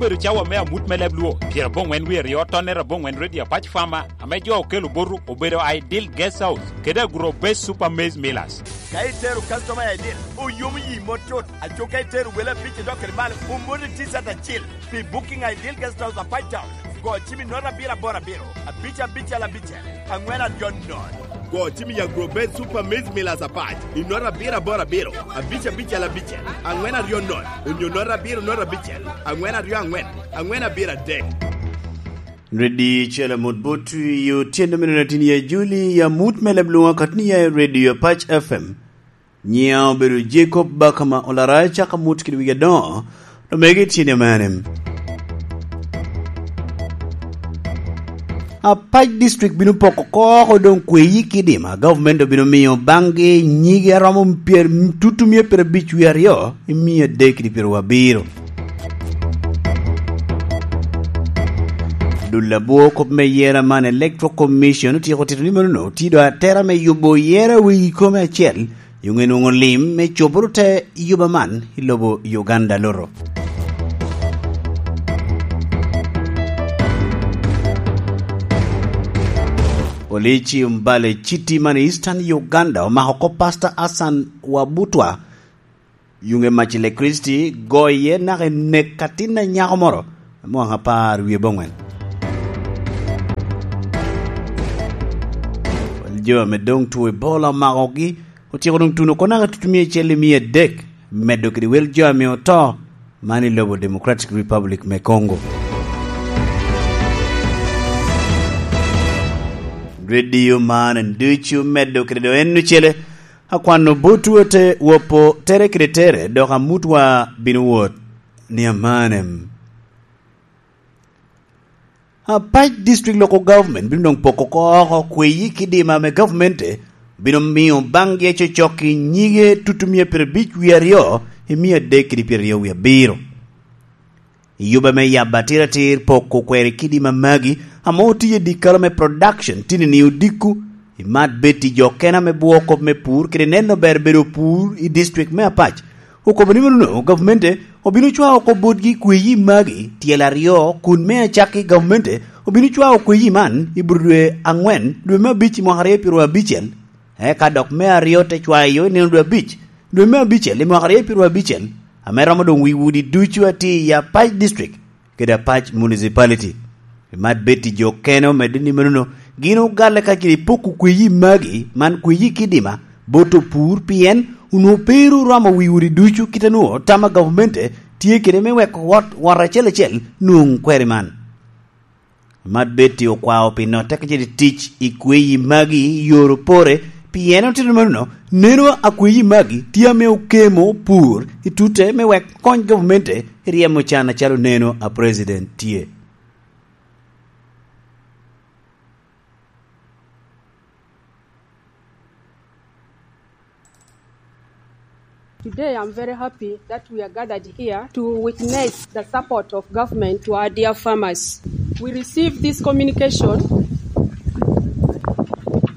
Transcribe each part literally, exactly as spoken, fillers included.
Obedo cawa me amut me leb Luo, pyerabongwen wie aryo, tonnere abongwen Radio Apac Farmer, ame jo okelo botu obedo Ideal Guest House kede Agro Base Super Maize Millers. Ka itero customer i Ideal, oyomo yi mot tut. Aco ka itero wele abic i dok kede malo, omoti T-shirt acil. Pi booking Ideal Guest House Apac Town, go cim i nota abiro aboro abiro, abic abicel abicel, angwen aryo nono. Go cim i Agro Base Super Maize Millers Apac i nota abiro aboro abiro, abic abicel abicel, angwen aryo nono, onyo nota abiro nota abicel, angwen aryo angwen, angwen abiro adek. Redio Cel Amut Bot i otyeno me nino tin i Ajuli, i amut me leb Luŋa katni ya i Redio Apac F M. Nyiŋa obedo Jacob Bakama Olara, caka mut kede wigi adoŋo, omege tyen i mene. Apac District bino poko oko doŋ kweyi kidima, government obino miyo baŋgi nyigi aromo pyer-, tutu mia pyerabic wie aryo i mia adek kede pyeraryo abiro. Dul abwo kop me yera man Electoral Commission otyeko tito ni mano tye doŋ atera me yubo yera wegi kome acel, Yung enwoŋo lim me coboro te yuba man i lobo Uganda loro. Polisi Mbale City man i Eastern Uganda omako kop Pastor Hassan Wabutwa. Yung e mac i Lekristi, goye naka i nek atin a nyako moro, mwaka apar wie bongwen. Jo ame doŋ two Ebola omakogi, otyeko doŋ tuno oko naka tutumia acel i mia adek, medo kede wel jo ame oto, man i lobo Democratic Republic me Congo. Redio man en ducu medo kede do en ocele, akwano botwu ote wopo tere kede tere, dok amutwa bino wot ni amanem. Apac District Local Government bino doŋ poko oko kweyi kidima ame gavmente bino miyo baŋgi acocok i nyige tutumia pyerabic wie aryo i mia adek kede pyeraryo wie abiro. I yuba me yabo atiratir poko kweri kidima magi ame otiye dikalo me production tini ni odiko, i mat bed i jo kena me bwo kop me pur kede neno ber bedo pur i district me Apac. Okobo ni mano gavmente obino cwao oko botgi kweyi magi tyel aryo, kun me acakki gavmente obino cwao kweyi man i bur dwe angwen, dwe me abic i mwaka aryo pyeraryo abicel, eka dok me aryo te cwayo i nino dwe abic, dwe me abicel i mwaka aryo pyeraryo abicel, ame romo doŋ wi udi ducu a tye i Apac District kede Apac Municipality. Mat bed i jo kene omedde ni manono, gin ogalle ka gin ipoko kweyi magi, man kweyi kidima, bot opur, pien onwoŋo pe ru romo wi udi ducu kit a nwoŋo tam a gavmente tye kede me weko wot, wot acel acel nwoŋ kweri man. Mat bed i okwao pi notte ka cito i tic i kweyi magi i yor opore, pien otito manono, neno a kweyi magi tye ame okemo pur i tute me wek kony gavmente i ryemo can acalo neno a president tye. Today, I'm very happy that we are gathered here to witness the support of government to our dear farmers. We received this communication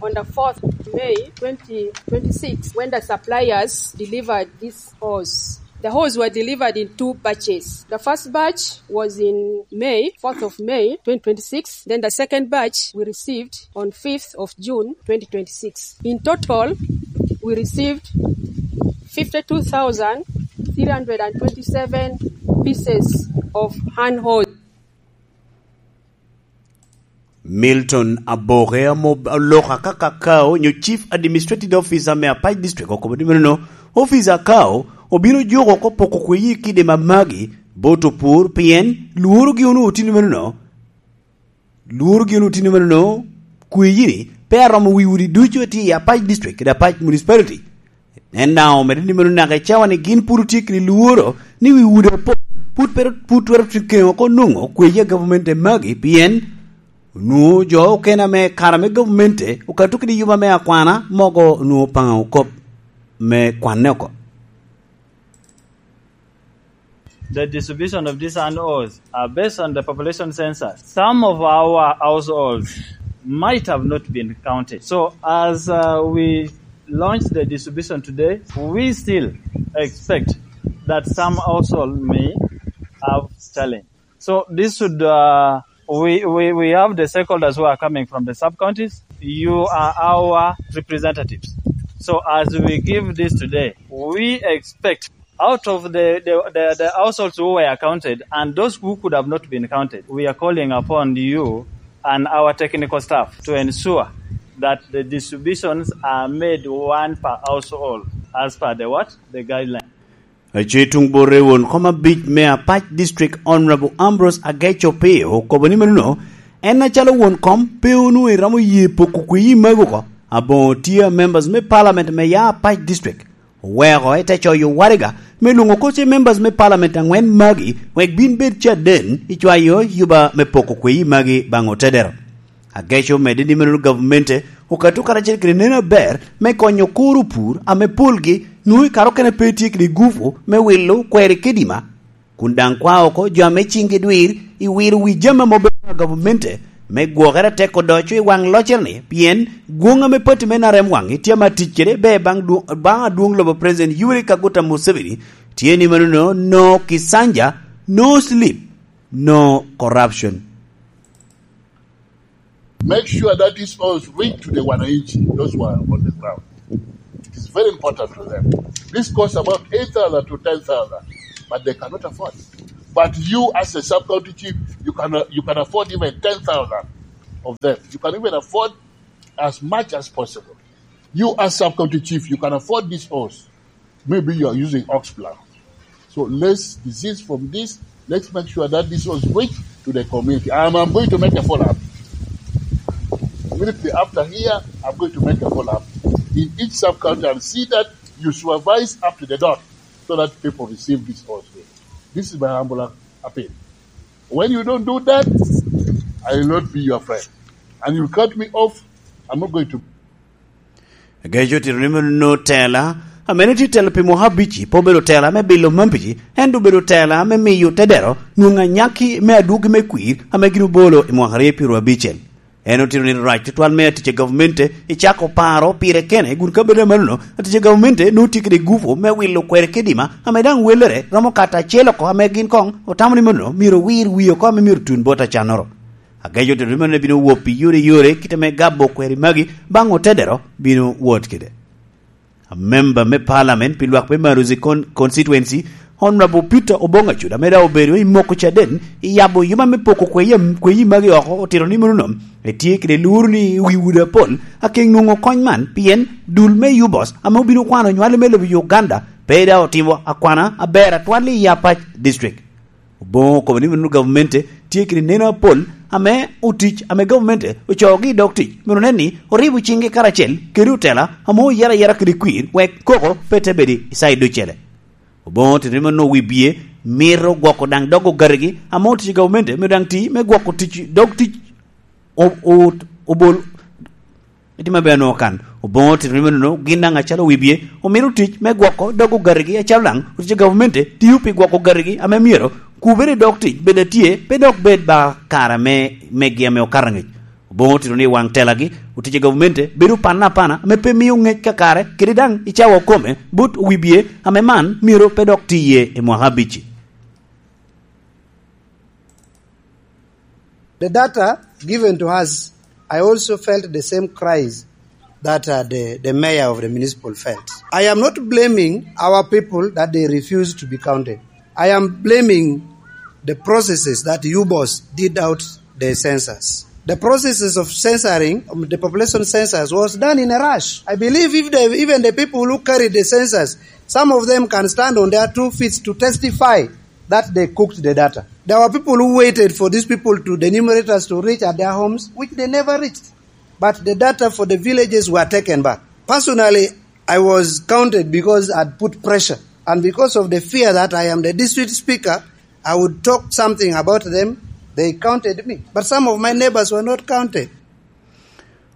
on the fourth of May twenty twenty-six, when the suppliers delivered this hose. The hose were delivered in two batches. The first batch was in May, fourth of May twenty twenty-six. Then the second batch we received on fifth of June twenty twenty-six. In total, we received fifty-two thousand three hundred and twenty-seven pieces of hand hose. Milton Aboke ame oloka kaka K O nyo Chief Administrative Officer me Apac District okobo ni meno officer K O obino juko oko poko kweyi kidima magi bot opur, pien lworogi onwoŋo tye ni meno, lworogi onwoŋo tye ni meno kweyi-ni pe aromo wi udi ducu a tye i Apac District kede Apac Municipality. En daŋ omedde ni meno naka i cawa-ni gin pwod otye kede lworo ni wi udi apol pwod pe, pwod twero keŋo oko nwoŋo kweyi a gavamente magi, pien onwoŋo jo okene ame kare me gavamente okato kede yuba me akwana mogo onwoŋo Opaŋo kop me kwanne oko. The distribution of these hand hose are based on the population census. Some of our households might have not been counted. So as, uh, we launch the distribution today, we still expect that some household may have challenge. So this should, uh, we, we, we have the stakeholders who are coming from the sub-counties. You are our representatives. So as we give this today, we expect out of the, the, the, the households who were counted and those who could have not been counted, we are calling upon you and our technical staff to ensure that the distributions are made one per household as per the what? The guideline. Aco i tuŋ bor i won kom abic me Apac District, Honorable Ambrose Ageco Pio, okobo ni meno, en acalo won kom pe onwoŋo eromo ye poko kweyi magi oko. Aboŋo tye a members me parliament me ya Apac District oweko ite coyo waraga me lwoŋo oko ce members me parliament aŋwen magi wek bin bed caden i cwayo yuba me poko kweyi magi baŋ otedero. Ageco omedde ni meno gavmente okato karacel kede neno aber me konyo kuro pur ame polgi nwoŋo i kare okene pe tye kede gupu me wilo kweri kedima, kun daŋ kwa oko jo ame ciŋgi dwir i wiro wi jami ame obedo a gavamente me gwokere atek odoco i waŋ loccere-ni, pien gwoŋ ame pati me N R M waŋ tye ame atic kede ber baŋ dwo-, baŋ adwoŋ lobo President Yoweri Kaguta Museveni tye ni mano no, no Kisanja, no sleep, no corruption. Make sure that these oils reach to the wananchi, those who are on the ground. It is very important to them. This costs about eight thousand to ten thousand, but they cannot afford. But you, as a sub-county chief, you can, you can afford even ten thousand of them. You can even afford as much as possible. You, as sub-county chief, you can afford these oils. Maybe you are using ox plow. So let's desist from this. Let's make sure that this was reached to the community. I'm, I'm going to make a follow-up. Immediately after here, I'm going to make a follow-up in each sub-county and see that you supervise up to the dot so that people receive this also. This is my humble appeal. When you don't do that, I will not be your friend. And you cut me off, I'm not going to Ageco otito ni meno tela, ame ne tye telo pi mwaka abic-ci, pe obedo tela me bilo mampiji, ento obedo tela me miyo tedero nwoŋo anyaki me adwogi me kwir ame gin obolo i mwaka aryo pyeraryo abicel. En otito ni rac tutwal me atic a gavmente i cako paro pire kene, kun ka bedo amannono, atic a gavamente nwoŋo tye kede gupu me wilo kweri kedima ame daŋ welere romo kato acel oko, ame gin koŋ otamo ni mano myero owir wie oko ame myero tun bot acannoro. Ageco otito ni mano bino wot pi yore yore kite me gabo kweri magi baŋ otedero bino wot kede. Amemba me parliament pi lwak me Maruzi Con-, constituency, Honorable Peter Obong Acuda, ame daŋ obedo i moko caden i yabo yuma me poko kweyi, kweyi magi oko, otito ni mano nom etye kede luru ni wi udi apol akeŋ nwoŋo kony man, pien dul me Yubos ame obino kwano nywali me lobo Uganda pe daŋ otimo akwana aber atwal i Apac District. Oboŋo okobo ni meno gavmente tye kede neno apol ame otic ame gavmente ocoogi i dog tic, myero onen ni oribo ciŋgi karacel kede otela ame oyero ayera kede kwir wek koko pe te bedo i cayi ducele. Oboŋo otito ni meno wi bie mito gwoko daŋ dog ogatigi ame otic i gavamente myero daŋ ti me gwoko tic, dog tic o-, o-, obol, itimo aber onwoŋo kan. Oboŋo otito ni meno, gin daŋ acalo wi bie omito tic me gwoko dog ogatigi, acalo daŋ otic a gavamente tio pi gwoko ogatigi ame myero kubere i dog tic bed atye, pe dok bed ba kare me, megi ame okato angec. Oboŋo otito ni waŋ telagi, otic a gavamente bedo panna apana ame pe mio ngec kakare, kede daŋ i cawa okome bot wi bie ame man myero pe dok tiye i mwaka abic-ci. The data given to us, I also felt the same cries that, uh, the, the mayor of the municipal felt. I am not blaming our people that they refused to be counted. I am blaming the processes that U B O S did out the census. The processes of censoring, um, the population census was done in a rush. I believe if the, even the people who carried the census, some of them can stand on their two feet to testify that they cooked the data. There were people who waited for these people to, the enumerators to reach at their homes, which they never reached. But the data for the villages were taken back. Personally, I was counted because I'd put pressure. And because of the fear that I am the district speaker, I would talk something about them, they counted me. But some of my neighbors were not counted.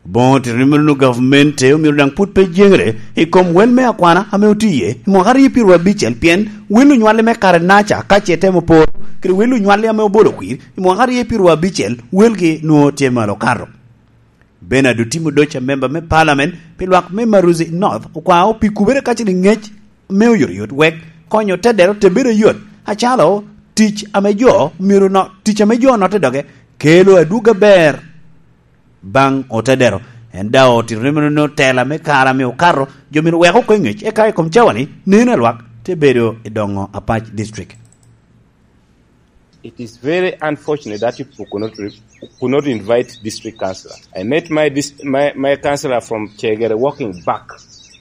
Oboŋo otito ni meno gavmente omyero daŋ pwod pe jeŋere i kom wel me akwana ame otiye i mwaka aryo pyeraryo abicel, pien wel onywalli me kare naca ka ce temo poro kede wel onywalli ame obolo kwir i mwaka aryo pyeraryo abicel, welgi nwoŋo tye malo kato. Bernard Otimo Doca, member me parliament pi lwak me Maruzi North, okwao pi kubere kacel i ngec me oyotoyot wek konyo tedero te bedo yot, acalo tic ame jo myero no, tic ame jo notte doge kelo adwogi aber baŋ otedero. En daŋ otito ni meno tela me kare ame okato, jo myero wek oko i ngec, eka i kom cawa-ni neno a lwak te bedo i doŋo Apac District. It is very unfortunate that you people could not, re- could not invite district councillor. I met my, dis- my, my councillor from Chegere walking back,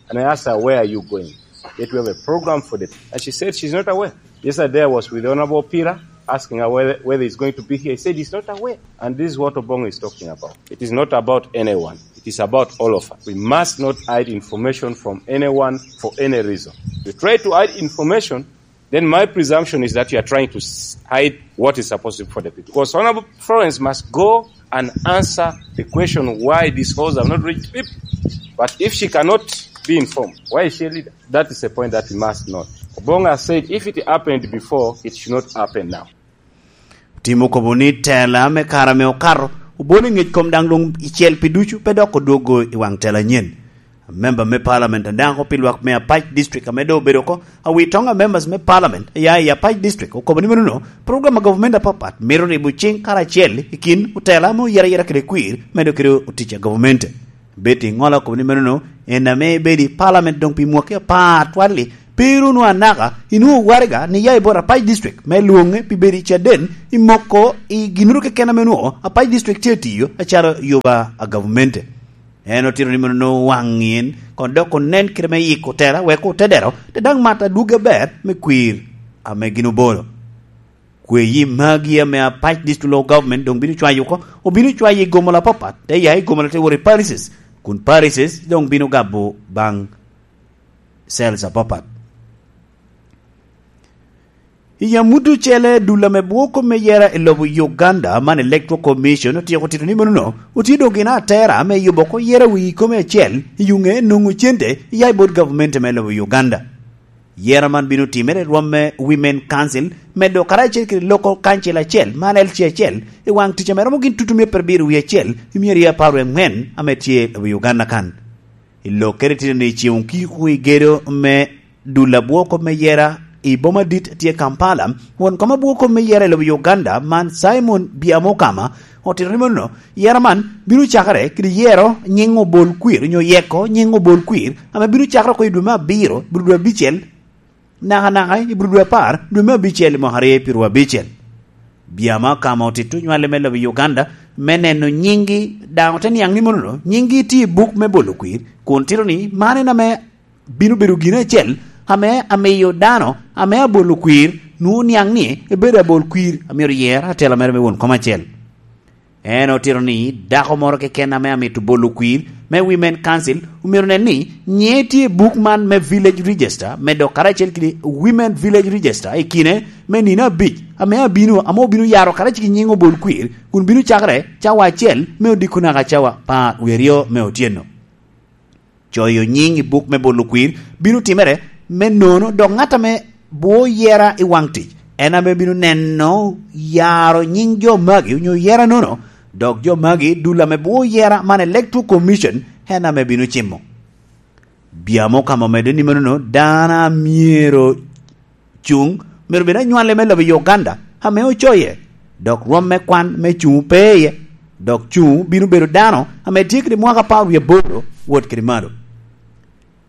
and I asked her, "Where are you going?" That we have a program for the. And she said she's not aware. Yesterday I was with Honorable Pira, asking her whether, whether he's going to be here. He said he's not aware. And this is what Obong is talking about. It is not about anyone. It is about all of us. We must not hide information from anyone for any reason. If you try to hide information, then my presumption is that you are trying to s- hide what is supposed to be for the people. Because Honorable Florence must go and answer the question why these halls have not reached people. But if she cannot be informed, why is she a leader? That is a point that we must note. Obong has said if it happened before, it should not happen now. Tim okobo ni tela me kare ame okato obolo i ngec kom daŋ luŋ icel pi ducu, pe dok odwogo i waŋ tela anyen. Memba me palament adaŋo pi lwak me Apac District ame doŋ obedo oko, awitoŋ a members me palament ya i Apac District okobo ni menono program a government apapat mito ribo ciŋ karacel i kin otela ame oyera yera kede kwir medo kede otic a government. Betty Ŋola okobo ni menono en ame ebedo i palament doŋ pi mwaki apar twal-li, pe ru onwoŋo anaka, inwoŋo waraga ni ya i bot Apac District me lwoŋe pi bedo i caden i moko i ginnoro keken ame onwoŋo Apac District tye atiyo acalo yuba a gavumenti. En otito ni meno nwoŋo waŋ en, kono dok onen kite me yiko tela wek otedero te daŋ mat adwogi aber me kwir ame gin obolo. Kweyi magi ame Apac District Local Government doŋ bino cwayo oko, obino cwayo i gomola apapat, te ya i gomola te wot i parishes, kun parishes doŋ bino gabo baŋ cells apapat. I amut ocele, dul ame bwoko me yera i lobo Uganda man Electoral Commission otyeko tito ni menono otye doŋ gin atera me yubo oko yera wii kome acel i yuŋe nwoŋo cente ya i bot gavumenti me lobo Uganda. Yera man bino timere i rwom me Women Council, medo karacel kede Local Council acel man L C acel, i waŋ tic ame romo gin tutumia perabiro wie acel i myero apar wie aŋwen ame tye i lobo Uganda kan. I lokkere tye ni ceŋ okiko i gedo me dul abwoko me yera i boma dit tye Kampala, won kom abwoko me yera i lobo Uganda man Simon Byamukama otito ni meno yera man bino cakere kede yero nyiŋ obol kwir onyo yeko nyiŋ obol kwir ame bino cakere oko i dwe me abiro, biro dwe abicel, nakanaka i bur dwe apar, dwe me abicel i mwaka aryo i pyeru abicel. Byamukama otito nywale me lobo Uganda me neno nyiŋgi, daŋ ote niaŋ ni monono nyiŋgi tye i buk me bolo kwir, kun tito ni man en ame bino bedo gin acel ame amiyo dano ame abolo kwir nwoŋo niaŋ ni ebedo abol kwir a myero yer atela mere me won kom acel. En otito ni dako moro keken ame amito bolo kwir me Women Council omyero nen ni nyiŋe tye i buk man me Village Register, me dok karacel kede Women Village Register i kine me nino abic ame abino, ame obino yaro karacel ki nyiŋ obol kwir, kun bino cakere cawa acel me odiko naka cawa apar wie aryo me otyeno. Coyo nyiŋ i buk me bolo kwir bino timere me nono, dok ŋat ame bwo yera i waŋ tic en ame bino neno yaro nyiŋ jo magi onyo yera nono, dok jo magi dul ame bwo yera man Electoral Commission en ame bino cimo. Byamukama omedde ni menono dano a myero cuŋ myero bed anywale me lobo i Uganda ame ocoye, dok rwom me kwan me cuŋ pe iye, dok cuŋ bino bedo dano ame tye kede mwaka apar wie aboro wot kede malo.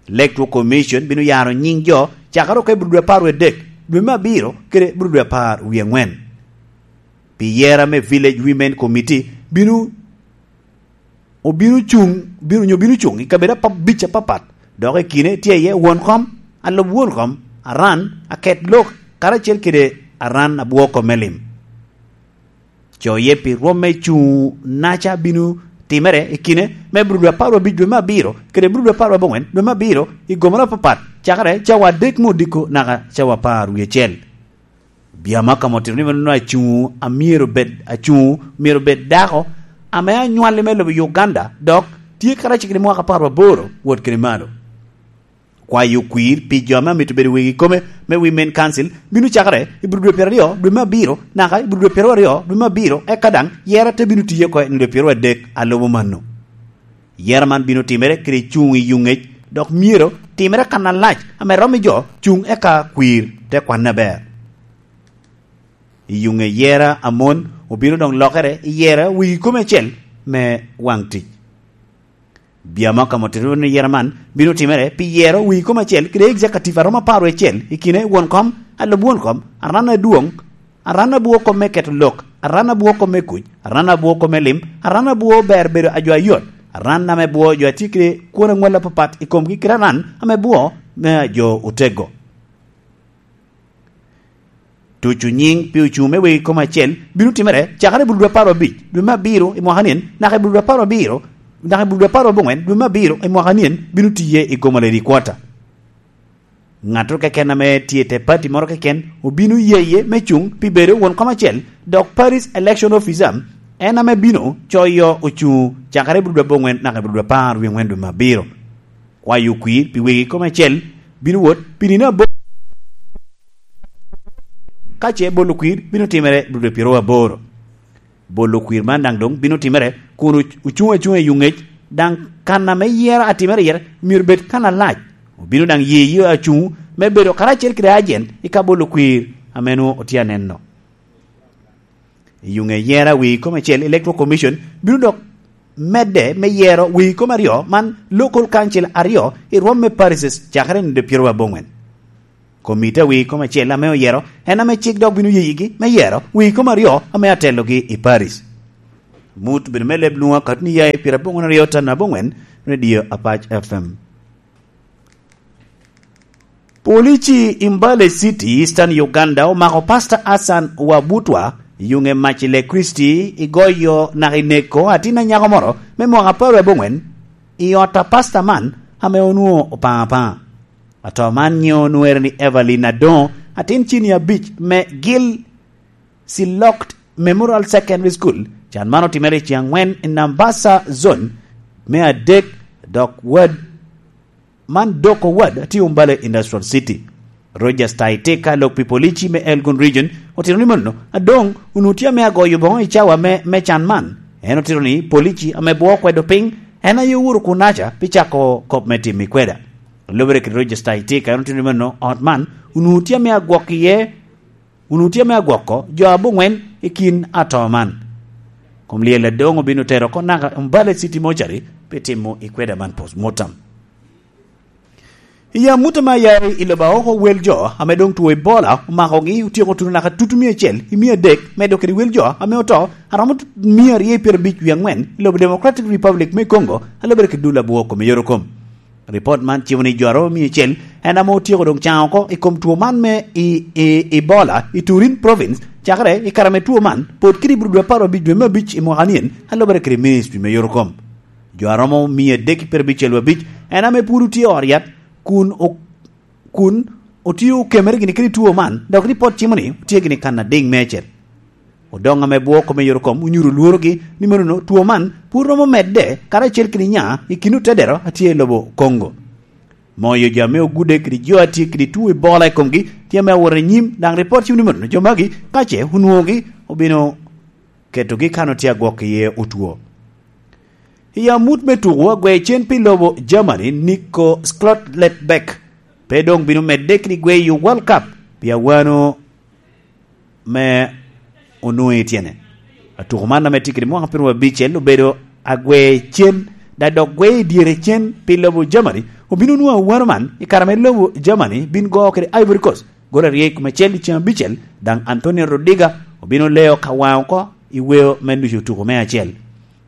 Electoral Commission bino yaro nyiŋ jo cakere oko i bur dwe apar wie adek, dwe me abiro kede bur dwe apar wie aŋwen. Pi yera me Village Women Committee bino obino cuŋ, bino, onyo bino cuŋ i kabedo abic apapat, dok i kine tye iye won kom, alub won kom, aran, aket lok, karacel kede aran abwo kom me lim. Coye pi rwom me cuŋ naca bino timere i kine me bur dwe apar wie abic dwe me abiro kede bur dwe apar wie abongwen dwe me abiro i gomoro apapat, cakere cawa adek me odiko naka cawa apar wie acel. Byamukama otito ni meno acuŋ a myero bed, acuŋ myero bed dako ame anywalli me lobo Uganda, dok tye karacel kede mwaka apar aboro wot kede malo. Kwayo kwir pi jo ame amito bedo wegi kome me Women Council bino cakere i bur dwe pyeraryo dwe me abiro naka i bur dwe pyeraryo dwe me abiro, eka daŋ yera te bino tiye oko i dwe pyerwadek a lubo mano. Yera man bino timere kede cuŋ i yuŋec, dok myero timere kan alac ame romo i jo cuŋ eka kwir te kwanne aber. I yuŋe yera a mon obino doŋ lokere i yera wegi kome acel me waŋ tic. Biamo ka motoro ni yera man bino timere pi yero wegi kome acel kede executive a romo apar wiye acel i kine won kom, alub won kom, aran adwoŋ, aran abwo kom me keto lok, aran abwo kom me kuc, aran abwo kom me lim, aran abwo ber bedo a jo ayot, aran ame bwo jo a tye kede kwon aŋwal apapat i komgi kede aran ame bwo me a jo otego. Tuco nyiŋ pi ocuŋ me wegi kome acel bino timere cakere i bulu dwe apar abic dwe me abiro i mwaka nien, naka i bulu dwe apar abiro, naka i bulu dwe apar aboŋwen dwe me abiro i mwaka nien bino tiye i Gomala Headquarter. Ŋattoro keken ame tye i te pati moro keken obino yeye me cuŋ pi bedo won kom acel, dok Parish Election Officer en ame bino coyo ocuŋ cakere i bulu dwe aboŋwen naka i bulu dwe apar wie ŋwen dwe me abiro. Kwayo kwir pi wegi kome acel bino wot pi nino aboro. Ka ce bolo kwir bino timere i bulu dwe pyero aboro. Bolo kwir man daŋ doŋ bino timere kun oc-, ocuŋ acuŋa i yuŋec, daŋ kan ame yero atimere iye myero bed kan alac. Obino daŋ ye ye acuŋ me bedo karacel kede ajen i ka bolo kwir ame nwoŋo otye aneno. I yuŋe yero a wegi kome acel, Electoral Commission bino dok medde me yero wegi kome aryo man Local Council aryo i rwom me parishes cakere i nino pyero aboŋwen. Komiti a wegi kome acel ame oyero en ame cik dok bino yeyigi me yero wegi kome aryo ame atelogi i parish. Mut bedo me leb lwoŋo akatni ya i pyero aboŋwen aryo tan aboŋwen, Radio Apac F M. Polici i Mbale City, Eastern Uganda, omako Pastor Hassan Wabutwa i yuŋe mac i Lekristi, i goyo naka i neko atin anyako moro me mwaka apar aboŋwen i ot a pasta man ame onwoŋo opaŋo apaŋa. Ato man nyiŋe onwere ni Evelyn Adoŋo, atin cini abic me Gil Silok Memorial Secondary School. Can man otimere i ceng angwen i Nambasa Zone me adek, dok wad man doko wad a tye Umbale Industrial City. Rogers Taitika, lok pi polici me Elgon Region, otito ni mano, adoŋ onwoŋo tye ame agoyo boŋo i cawa me, me can man. En otito ni polici ame bwo okwedo piny, en aye owuro kunaca pi cako kop me timo i kweda. Lubere kede Rogers Taitika, en otito ni mano, ot man onwoŋo tye ame agwok iye, onwoŋo tye ame agwoko jo aboŋwen i kin ato man. Kom lyel adoŋ obino tero oko naka Umbale City Mortuary pi timo i kweda man postmortem. I amut ame aya i lobo aoko, wel jo ame doŋ two Ebola omakogi otyeko tuno naka tutu mia acel i mia adek, medo kede wel jo ame oto aromo miya aryo i pyerabic wie aŋwen i lobo Democratic Republic me Congo, a lubere kede dul abwo kome yorokom. Ripot man cimo ni jo aromo mia acel en ame otyeko doŋ caŋ oko i kom two man me i, i, Ebola i Turin Province, cakere i kare ame two man pod kede i bur dwe apar abic dwe me abic i mwaka nien, a lubere kede ministry me yorokom. Jo aromo mia adek i pyerabicel abic en ame pwod otye i ot yat kun o-, kun otye okemere gini kede two man, dok ripot cimo ni otye gini kan adiŋ meicel. Odoŋ ame bwo kome yorokom onyuto lworogi ni manono two man pwod romo medde karacel kede nya i kin otedero a tye i lobo Congo. Moyo jo ame ogudde kede jo a tye kede two Ebola i komgi tye ame awot i nyim, daŋ ripot cimo ni manono jo magi ka ce onwoŋogi obino ketogi kan otye agwok iye otwo. I amut me tuko, agwe cen pi lobo Germany, Nico Schlotterbeck pe doŋ bino medde kede gweyo World Cup pi awano me onwoŋo i tyene. Atuko man ame tye kede mwaka pyeraryo abicel obedo agwe cen, da dok gwe i dyere cen pi lobo Germany obino nwoŋo awano man i kare ame lobo Germany bin go kede Ivory Coast gol aryo i kom acel i ceng abicel, daŋ Antonio Rudiger obino leo ka waŋ oko i weo me nucu tuko me acel.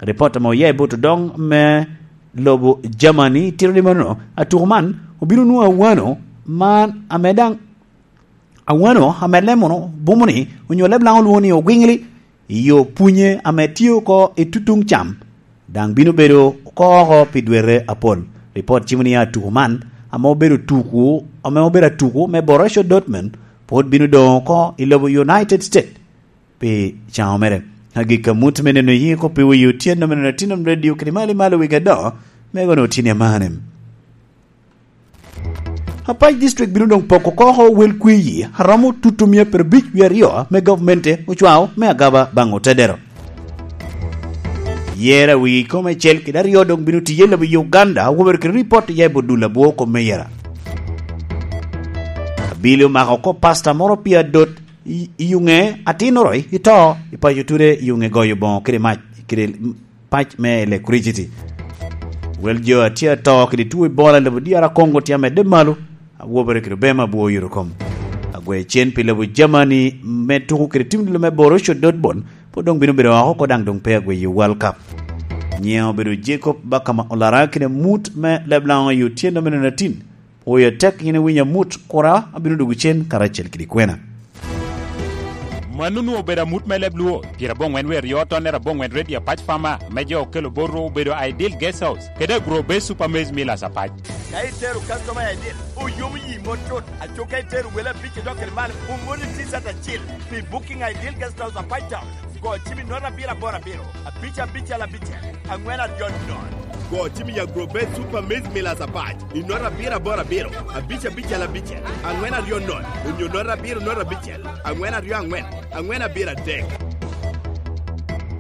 Ripot ame oya i bot odoŋ me lobo Germany tito ni mano, atuko man obino nwoŋo awano man ame daŋ awano ame leb mono bumo ni, onyo leb Laŋo lwoŋo ni ogwiŋli, i yo punye ame tye oko i tutuŋ cam, daŋ bino bedo oko oko pi dwete apol. Ripot cimo ni atuko man, ame obedo tuko, ame obedo atuko me Borussia Dortmund, pwod bino doŋ oko i lobo United States pi caŋo mere. Agikki amut me neno yiko pi wi otyeno me neno Tinum Radio kede Mali Malo Wigi Adoŋo, me gono Otieno Amanem. Apac District bino doŋ poko oko wel kwiyi aromo tutu mia pyerabic wie aryo me gavmente ocwao me agaba baŋ otedero. Yera wigi kome acel kede aryo doŋ bino tiye lobo Uganda, wobere kede ripot ya i bodul abwo kom me yera. Abili omako oko pasta moro pi adot I, i yuŋe atin oroi, ito, i paco ture i yuŋe goyo boŋo kede mac, kede pac me electricity. Wel jo a tye ato kede tuo Ebola i lobo D R Congo tye amedde malo, awobere kede obema abwo oyuto kom. Agwe cen pi lobo Germany me tuko kede tim dilo me Borussia Dortmund, pwod doŋ bino bedo oko oko daŋ doŋ pe agwe i World Cup. Nyiŋe obedo Jacob Bakama Olara kede mut me Leblaŋo i otyeno me nino atin. Oyo atek yin iwinyo amut, kura abino dwogo cen karacel kede kwena. Mano onwoŋo obedo amut me leb Luo, pyerabongwen wie aryo tonnere abongwen redio apac Farmer, ame jo okelo botwu obedo Ideal Guest House, kede Agro Base Super Maize Millers apac. Ka itero customer Ideal, oyomo yi mot tut, aco ka itero wele abic idok kede malo, omoni T-shirt acil. Pi booking Ideal Guest House apac Town, go cim i nota abiro aboro abiro, abic abicel abicel, angwen aryo nono. Go cim i Agro Base Super Maize Millers apac, i nota abiro aboro abiro, abic abicel abicel, angwen aryo nono, onyo nota abiro nota abicel, angwen aryo angwen, angwen abiro adek.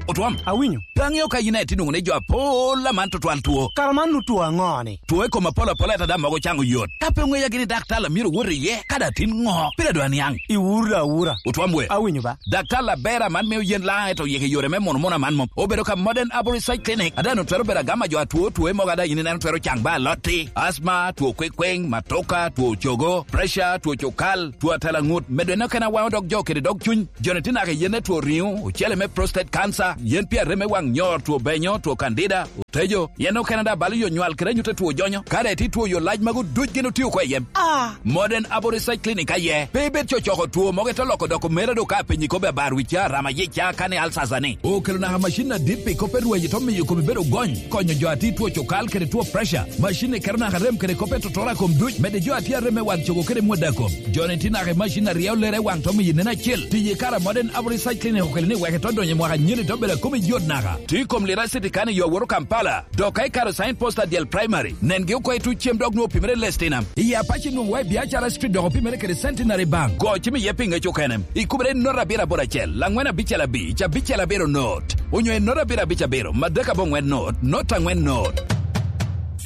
Otwom. Awinyo. Pe aŋeo ka yin aye tye nwoŋo ni jo apol aman tutwal two. Kara man nu two aŋo ni? Two i kom apol apol ata dam mogo caŋo yot. Ka pe oŋeya gini daktar a myero wot iye, kadi atin ŋo? Pire dwa niaŋ. Iwura awura. Otwom we. Awinyo ba. Daktar Labera man mio yen laŋ eto yeke yore me mono mono aman mom. Obedo ka Modern Arborist Side Clinic. Ada no twero bedo agama jo atwo two mogo ada yin ineno twero caŋ ba alotti. Asma, two kwekweng, matoka, two cogo, pressure, two cokal, two atalaŋut. Medo eno kena waŋo dog jo kede dog cuny. Joni tye naka i yen me two riŋo, ocele me prostate cancer, yen pi arem me waŋ nyor, two benyo, two candida, otejo, yen okene daŋ balo yo nywal kede anyut a two jonyo. Kare tye two yo lac magu duc gin otio oko i yem. Ah! Modern Aboriginal Clinic aye. Pe ibed cocoko two mogo ite loko doko mera do ka apenyi kobbe abar wica, rama yica, kani alsasa ni. Okelo naka macin adit pi kop e rweny to miyo kome bedo gony, konyo jo a tye two cokal kede two pressure. Macin ni keto naka rem kede kop e totoro a kom duc, medde jo a tye arem me waŋ cogo kede mwada kom. Joni tye naka i macin a ryeo lere i waŋ to miyo nen acel. Tiyo i kare a Modern Aboriginal Research Clinic okelo ni wek ito donyo i mwaka anyira ito bedo a kome yot naka. Tye i kom lira city kan i yo awoto Kampala. Dok ka ikato sign post adyel primary, nengi oko i tuc cem dok nwoŋo opimere i Lestinam. I Apac inwoŋo wa i Biacara Street dok opimere kede Centenary Bank. Go cim iye pi ŋec okene. Ikubere i nota abiro aboro acel, angwen abicel abic, abicel abiro not. Onyo i nota abiro abic abiro, madek abongwen not, not angwen not.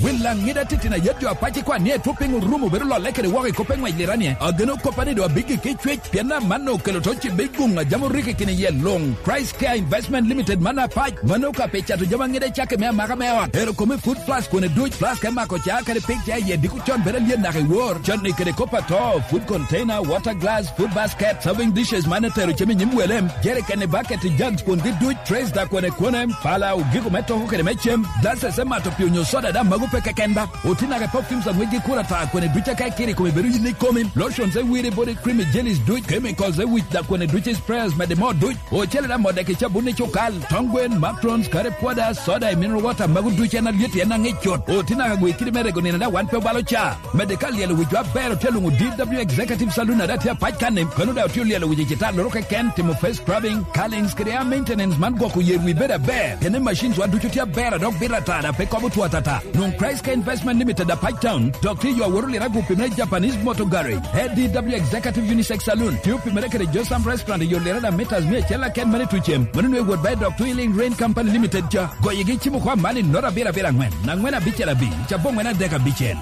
Wil laŋ ŋida titino ayet jo Apac ikwan ni etwo piny orumo bedo lolle kede woko i kop eŋwec liranie. Ageno koppa ni do abiggi ki cwec, pien aman okelo to cibbe i guŋ a jam orikki kini yie luŋ. Christ Care Investment Limited man Apac, mano ka pi cato jami aŋida cakki me amaka me ot. Ero kome food plus kwone duc, plus ka imako ca kadi pig ca iye diko con bedo alyet naka i wor. Canni kede kop ato, food container, water glass, food basket, serving dishes man etero cem i nyim wele, jerikeni, baketi, jugs kwongi duc, trays da kwone kwone, pala, ogiko me toko kede me cem, glasses me mato pi onyo soda da mago pe keken ba. Oti naka i perfumes aŋwec gi kura ta kwene duc aka ikiri kome bedo yin ikomi, lotions e wiri body cream i jellies duc, chemicals e wic da kwene duc i sprayers mede mo duc. Ocele da modde ki cabun i cukal, tong gwen, macarons, curry powder, soda i mineral water mago duc en alyet en aŋic cut. Oti naka gwe kidi me rego nino da wan pe obalo ca. Mede ka lyelo wic wa ber otye luŋo D W Executive Saloon ada tye apac kan-ni, kono da otye olyelo wic i cita loro keken, timo face scrubbing, curlings kede hair maintenance man gwoko yer wi bedo aber. Pien i machines wa ducu tye aber a dok bito ata da pe kobo two atata. Nwoŋ Christ Care Investment Limited Apac Town, dok tye yo awoto lira gupi me Japanese Motor Garage, A D W Executive Unisex Saloon, tye opimere kede Josam Restaurant i yo lira da meters mia acel aken mani tucem, mano nwe wot ba i dok Twilling Rain Company Limited ca. Goyigi cimo kwa man i nota abiro abiro angwen, angwen abicel abic, abongwen adek abicel.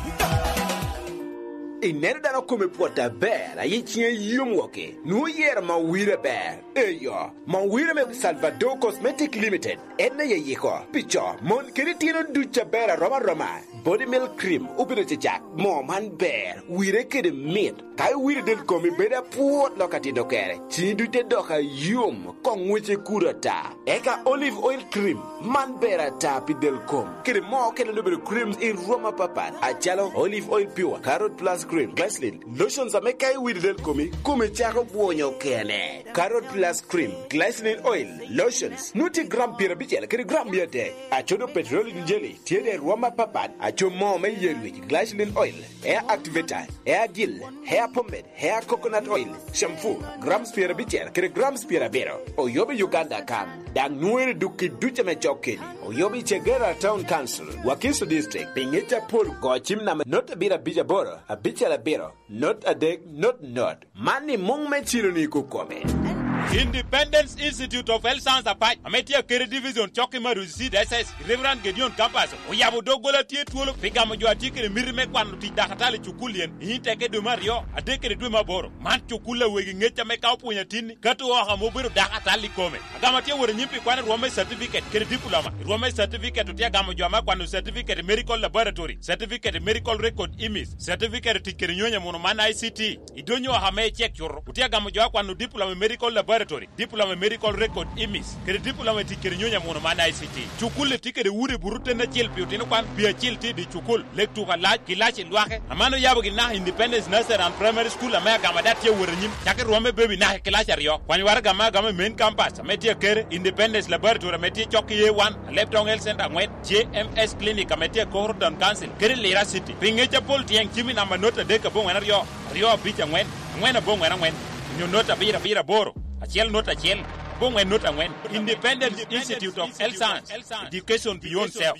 Ineno dano kome pwot aber, aye ciŋe yom woki, nwoŋo yero ma wire ber. Eyo, ma wire me Salvador Cosmetic Limited, en aye yiko, pi co, mon kede tyeno duc aber aroma aroma. Body Milk Cream obino cecak, moo man ber, wire kede mit. Ka iwiro del komi bedo apwot lok atito kere, ciŋi duc te dok ayom, koŋ ŋwece kudo ata. Eka Olive Oil Cream, man ber ata pi del kom. Kede moo okene obedo creams i rwom apapat, acalo Olive Oil Pure, Carrot Plus Cream, Glycerin, lotions ame ka iwiro del komi, komi cako bwonyo kene. Carrot Plus Cream, Glycerin Oil, lotions, nwoŋo tye gram pyerabicel kede gram mia adek. Acodo petroleum jelly, tye de rwom apapat, aco moo me yer wic, glycerin oil, hair activator, hair gel, hair pomade, hair coconut oil, shampoo, grams pyerabicel kede grams pyerabiro. Oyobo i Uganda kan, daŋ nwoŋere dukki duc ame cok keni. Oyobo i Chegera Town Council, Wakiso District, pi ŋec apol go cim namba not abiro abic aboro, abicel abiro, not adek, not not. Man i muŋ me cilo ni kukome. Independence Institute of Health Science Apac, ame tye akede division cok i Maruzi Seed S S, Reverend Gedeon Kapaso, oyabo doggola tye twolo pi gamo jo a tye kede miti me kwano tic dakatali i cukul yen i nyim teke dwe me aryo, adek kede dwe me aboro. Man cukul a wegi ŋec ame ka opwonyo atinni, kato oko ame obedo dakatali i kome. Agamo tye wot anyim pi kwano rwom me certificate kede diploma. Rwom me certificate otye agamo jo ame akwano certificate i medical laboratory, certificate i medical record imis, certificate i tic kede nyonyo muno man I C T. I donyo oko ame icek cuto, otye agamo jo akwano diploma i medical laboratory, diploma i medical record imis, kede diploma i tic kede nyonyo muno man I C T. Cukul-li tye kede udi buto ten acel pi otino kwan, pi acil tye i dye cukul, lek tuko alac, kilaci lwake. Aman oyabogi naka Independence Nursery and Primary School ame agamo daŋ tye awot anyim, cakki rwom me baby naka i kilaci aryo. Kwany waraga ame agamo i main campus ame tye akere, Independence Laboratory ame tye cok i A one, Alebtong Health Center aŋwen, J M S Clinic ame tye i Koro Town Council, kede Lira City. Pi ŋec apol tyeng cim i namba not adek aboŋwen aryo, aryo abic aŋwen, aŋwen aboŋwen aŋwen, onyo not abiro abiro aboro, acel not acel, aboŋwen not aŋwen. Independence Institute of Health Science, Education Beyond Self.